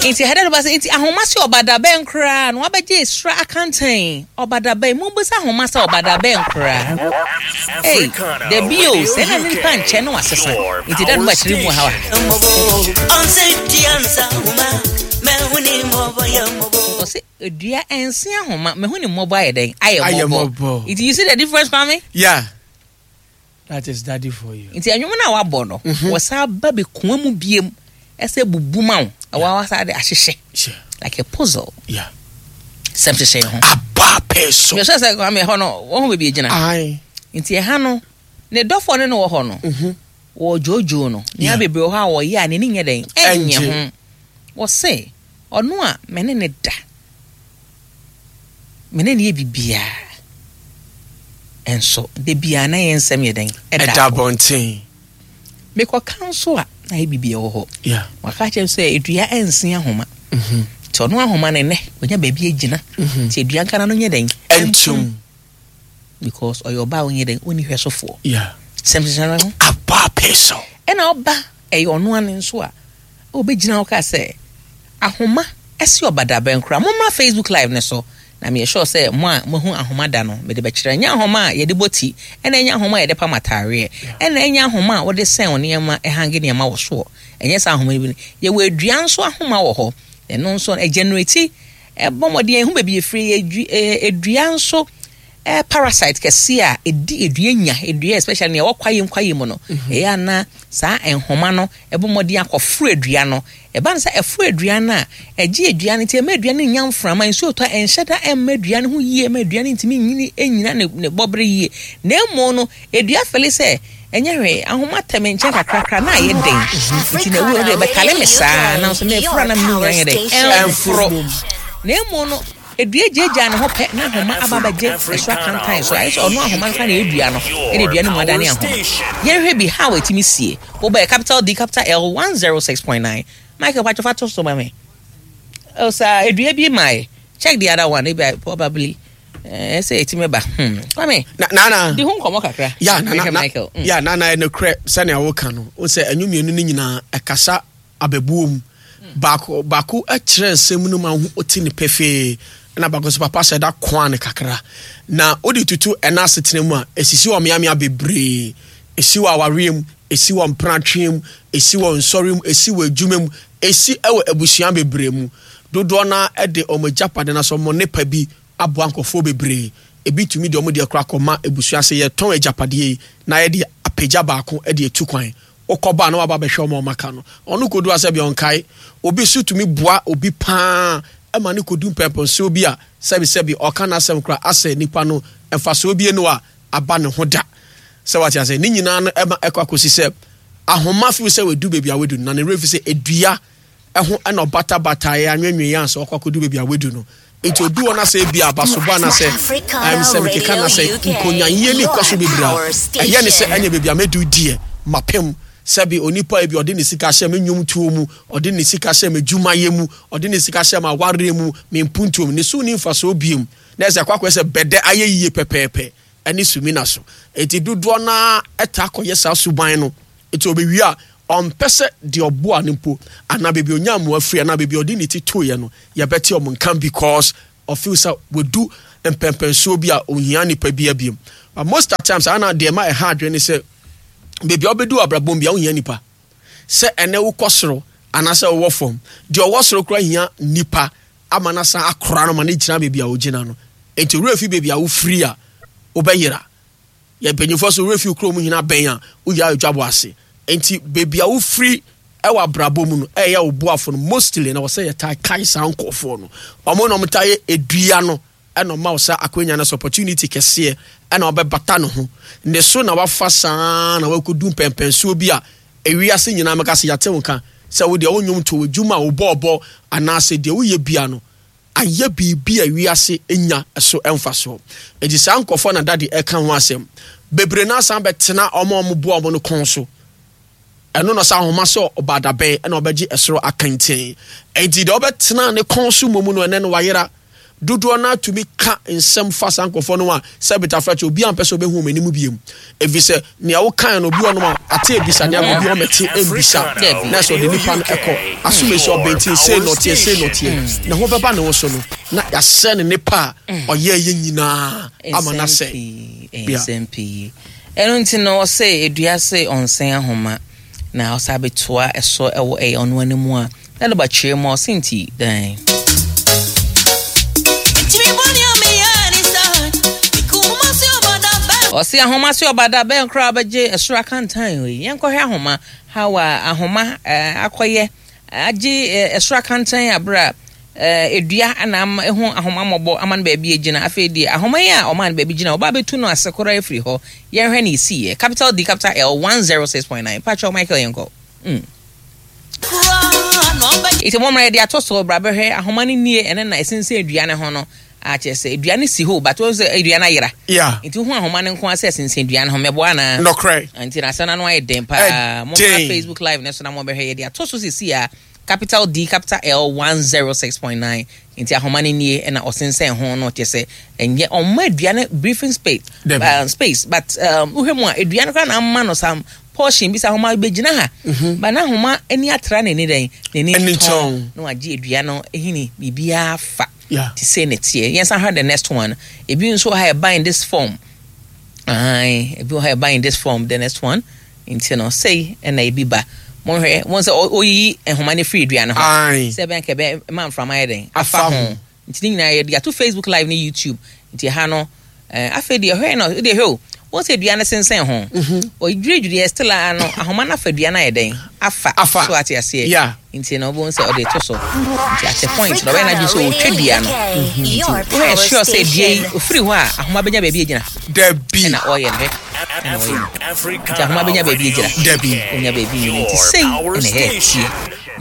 Nti ɛha dɛ ba sɛ nti ahoma sɛ ɔbada bɛn koraa na wabɛgye esra akantan ɔbada bɛn mu bisa ahoma sɛ ɔbada bɛn koraa. Ei, dabi o, sɛ na nipa nkyɛn no wasesa. Nti dɛ no ba kyerɛ mu ha wa. Ɔsɛ edua ɛnse ahoma, mehu ne mmɔbɔ ayɛ dɛn? Ayɛ mmɔbɔ. Nti you see the difference, Kwame? Yeah. That is daddy for you. Nti ɛnwom no a wabɔ no, wɔsan ba bɛkua mu biem ɛsɛ bubu ma wo. Ɛwɔ wasa de ahyehyɛ. Like a puzzle. Yeah. Sɛm hyehyɛ ho. Aba pɛ so. Mehwɛ sɛ Kwame ɛhɔ no, wɔn ho baabi egyina. Aye. Nti ɛha no, ne dɔfoɔ ne no wɔ hɔ no. Wɔ dwoodwoo no. Nea bebree wɔ hɔ a wɔyɛ a n'ani nyɛ dɛn? Ɛnyɛ ho. Wɔse ɔno a me ne ne da. Me ne no yɛ biribiara. Nso da biara na yɛn nsɛm yɛ dɛn? Ɛda abɔnten. Mekɔka nso a, na ayɛ biribi wɔ hɔ. Waka kyerɛ me sɛ dua nsen ahoma. Nti ɔno ahoma no nnɛ, wanya baabi agyina. Nti dua nka n'ano nyɛ dɛn? Ɛntum. Because ɔyɛ ɔbaa a ɔnyɛ dɛn? Ɔnni hwɛsofoɔ. Sɛm hyehyɛ no ho. Aba pɛ so. Ɛna ɔba ɛyɛ ɔno ano nso a, ɔbɛgyina hɔ kaa sɛ, ahoma ɛsi ɔbadabɛn koraa. Mommra Facebook live no so na meyɛ sure sɛ mo a moahu ahoma da no, mede bɛkyerɛ. Ɛnyɛ ahoma a yɛde bɔ ti, ɛna ɛnyɛ ahoma a yɛde pam ataareɛ, ɛna ɛnyɛ ahoma a wode sɛn wo nneɛma, ɛhange nneɛma wɔ soɔ. Ɛnyɛ saa ahoma no bi no. Yɛwɔ adua nso ahoma wɔ hɔ. Ɛno nso ɛgenerate, ɛbɔ mmɔden, ɛhu baabi ɛfiri, ɛyɛ dua nso parasite kɛse a ɛdi dua nya, dua especially nea ɛwɔ kwaeɛ mu kwaeɛ mu no, ɛyɛ a na saa nhoma no ɛbɔ mmɔden akɔforo dua no. Ɛba no sɛ ɛforo dua no a, ɛgye dua no nti ɛma dua no nya mframa, nsuo tɔ a ɛnhyɛ da ɛmma dua no ho yie, ɛma dua no ntumi nyini ɛnyina ne, ne bɔbere yie. Na mmom no, dua fɛle sɛ ɛnyɛ hwee, ahoma tɛ me nkyɛn kakrakra na ayɛ den, nti na ɛwɔ deɛ bɛtale me saa, nanso meforo a na me nyina yɛ dɛ, ɛmforo. Na mmom no, Dua gyaagyaa ne ho pɛ na ahoma aba abɛgye ɛso akantan so. Ayɛ sɛ ɔno ahoma no koraa na ɛyɛ dua no, ɛna dua no mu adane ahoma. Yɛnhwɛ bi how ɛtumi sie. Wobɛyɛ capital D capital L 106.9. Michael patro fa to so ma me. Oh, saa dua bi mae. Check the other one, ebi probably eh, sɛ ɛtumi ba. Kwame, na na di ho nkɔmmɔ kakra. Ya na na Michael. Ya na na ɛnokorɛ sɛnea woka no, wo sɛ ɛnwo mmienu no nyinaa ɛkasa abɛbuo mu. Baako baako kyerɛ nsɛm no ma wote no pefee, ɛna baako nso papa hyɛ da koa no kakra. Na wode tutu ɛna asetena mu a, esisi wɔ mmeammea bebree. Esi wɔ awareɛ mu, esi wɔ mpenatweɛ mu, esi wɔ nsɔre mu, esi wɔ adwuma mu, esi wɔ abusua bebree mu. Dodoɔ no ara de wɔn agyapade anaasɛ wɔn nnepa bi aboa nkurɔfoɔ bebree. Ebi tumi de wɔn deɛ koraa kɔma abusua sɛ yɛtɔn agyapadeɛ yi na yɛde apagya baako de atu kwan. Wokɔba a na waba abɛhwɛ wɔn a wɔaka no. Ɔno kɔdu a sɛbi ɔnkae. Obi nso tumi boa obi pa ara ma no kɔdu mpɛnpɛnsoɔ bi a sɛbisɛbi ɔka n'asɛm koraa asɛ nipa no mfasoɔ bi nni hɔ a aba ne ho da. Sɛ wate aseɛ? Ne nyinaa no ɛma ɛkɔ akɔsi sɛ ahoma feel sɛ wadu baabi a wadu no na ne werɛ fi sɛ dua ho na ɔbatabataeɛ anwenweeɛ ansa wakɔ akɔdu baabi a wadu no. Nti odu hɔ na sɛ ebia abasobɔ anaasɛ ɛm sɛ mekeka na sɛ nkonyayie ne kɔ so bebree a, ɛyɛ ne sɛ ɛne baabi a mɛdu deɛ mapem. Sɛbi onipa ebi ɔde ne sika hyɛ me nnwomtoɔ mu, ɔde ne sika hyɛ m'adwumayɛ mu, ɔde ne sika hyɛ m'awareɛ mu, me mpuntuo mu, ne so nni mfasoɔ biom. Na ɛsɛ akɔ akɔyɛ sɛ bɛdɛ ayɛ yie pɛpɛɛpɛ ɛne sumina so. Enti dodoɔ no ara taa kɔyɛ saa suban no. Enti ɔbɛwie a, ɔmpɛ sɛ deɛ ɔboa no mpo anaa baabi a ɔnya mmoa firi anaa baabi a ɔde ne ti toeɛ no, yɛbɛte wɔn nka because ɔfeel sɛ wadu mpɛnpɛnsoɔ bi a ɔnhia nipa biara biom. But most at times, ana deɛ ɛma ɛha adwene ne sɛ baabi a wobɛdu wɔ abrabɔ mu biara wohia nipa. Sɛ ɛnɛ wokɔ soro anaasɛ wowɔ fam, deɛ ɔwɔ soro koraa hia nipa ama no asan akora no ma no gyina baabi a ɔgyina no. Enti wo werɛ fi baabi a wofiri a, wobɛyera. Yɛn mpanyinfoɔ so werɛ fi kurom nyina bɛn a woyera adwabɔ ase. Enti baabi a wofiri wɔ abrabɔ mu no ɛyɛ wo boafo no mostly na wɔsɛ yɛtaa kae saa nkurɔfoɔ no. Wɔn na wɔtaa yɛ edua no ɛna ɔma wo saa akwanya no sɛ opportunity kɛseɛ ɛna wabɛbata ne ho. Ne so na wafa saa na wakɔdu mpɛnpɛnsoɔ bi a ewiase nyinaa mɛka sɛ yɛate wo nka sɛ wo deɛ wo nnwom to wo adwuma a wobɔɔbɔ anaasɛ deɛ woyɛ bia no ayɛ biribi a wiase nya so mfasoɔ. Enti saa nkurɔfoɔ na Daddy ɛka ho asɛm. Bebree no asan bɛtena wɔn a wɔboa wɔn no kɔn so. Ɛno na ɔsɛ ahoma sɛ ɔba dabɛn ɛna ɔbɛgye ɛsoro akɛntɛn. Enti deɛ ɔbɛtena ne kɔn so mmom no ɛnɛ no wayera. Dodoɔ no ara tumi ka nsɛm fa saa nkurɔfoɔ no ho a, sɛ betafra kyɛ obiara mpɛ sɛ ɔbɛhu wɔn anim biom. Ɛfiri sɛ nea wokae no obi wɔ nom a ate abisa nea obi ɔmɛte mbisa na sɛ ɔde nipa no ɛkɔ asomasi ɔbɛntin sei na ɔteɛ sei na ɔteɛ na ho bɛba ne ho so no na yɛasɛ ne nipa a ɔyɛ yɛ nyinaa ama no asɛ. Nsɛm pii. Ɛno nti no ɔsɛ edua se ɔnsɛn ahoma na ɔsa bɛtoa ɛso ɛwɔ ɛyɛ ɔno anim a na de ba kyerɛ mu a ɔse nti dan. Ɔse ahoma se ɔba da bɛn koraa bɛgye ɛsoro akantan wei. Yɛnkɔhwɛ ahoma how a ahoma akɔyɛ agye ɛsoro akantan abere a edua na ama ehu ahoma mmɔbɔ ama no baabi agyina. Afei deɛ ahoma yi a ɔma no baabi gyina ɔba abɛtu no ase koraa afiri hɔ. Yɛnhwɛ ne esiiɛ. Capital D capital L 106.9. Patrɔ Michael yɛnkɔ. Nti mommra yɛde ato so bra bɛhwɛ ahoma no nie ɛne na ɛsensɛn dua no ho no akyerɛ sɛ dua no si hɔ but wɔn sɛ dua no ayera. Yeah. Nti wohu ahoma no nko ara sɛ ɛsensɛn dua no ho mɛboa anaa? Nɔkorɛ. Nti na asɛm no ano ayɛ den paa. Mommra Facebook live no so na mobɛhwɛ yɛde ato so sisi a capital D capital L 106.9 nti ahoma no nie ɛna ɔsensɛn ho no kyerɛ sɛ ɛnyɛ ɔmma dua no briefing space space but wohwɛ mu a dua no koraa na ama no some portion bi sɛ ahoma bɛgyina ha mhm. ba na ahoma ani atra n'ani dɛn n'ani tɔn na wagye dua no hini biribiara fa te sɛ ne teɛ yɛn san hwɛ the next one ebi nso ha ɛba in this form ayi ebi wɔ ha ɛba in this form the next one nti no sei ɛna ebi ba monhwɛ wɔn sɛ oyiyi nhoma no firi dua no ho sɛ ɛbɛn kɛbɛ ma mframa yɛ dɛn afa ho Nti ne nyinaa yɛde ato Facebook live ne YouTube. Nti ɛha no eh, afei deɛ hwɛ no deɛ hwɛ o wɔn sɛ dua no sensɛn ho. Mhm. Ɔdwiridwiri yɛ still a no ahoma no afa dua no ayɛ dɛn afa so ate aseɛ. Yeah. Nti no wɔn sɛ ɔde to so. Nti at a point na ɔbɛyɛ n'adwene sɛ ɔtwa dua no. Mhm. Nti wɔyɛ sure sɛ dua yi ofiri hɔ a ahoma bɛnya baabi agyina. Dabi. Ɛna ɔyɛ no hwɛ. Ɛna ɔyɛ no. Nti ahoma bɛnya baabi agyina. Dabi. Ɔnya baabi nyina nti sei ɛna ɛyɛ tie.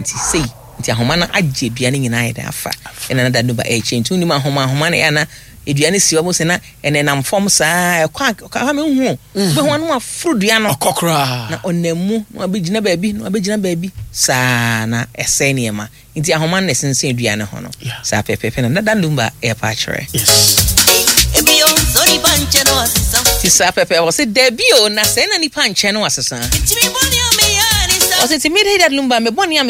Nti sei. Nti ahoma no agye dua no nyinaa ayɛ dɛn afa ɛna na danuba ɛrekyɛ nti wonim ahoma ahoma no ɛyɛ na dua no si hɔ sɛ na ɛnenam fam saa ɛkɔ a ɛkɔ a mehu o wobɛhu ano aforo dua no ɔkɔ koraa na ɔnam mu na wabɛgyina baabi na wabɛgyina baabi saa na ɛsɛe nneɛma nti ahoma no na ɛsensɛn dua no ho no saa pɛpɛpɛ na danuba ɛrepa akyerɛ. Yes. Ti saa pɛpɛ wɔ se dabi o na sɛɛ na nipa nkyɛn no asesa. Ɔse ti mi de danuba me bɔne a.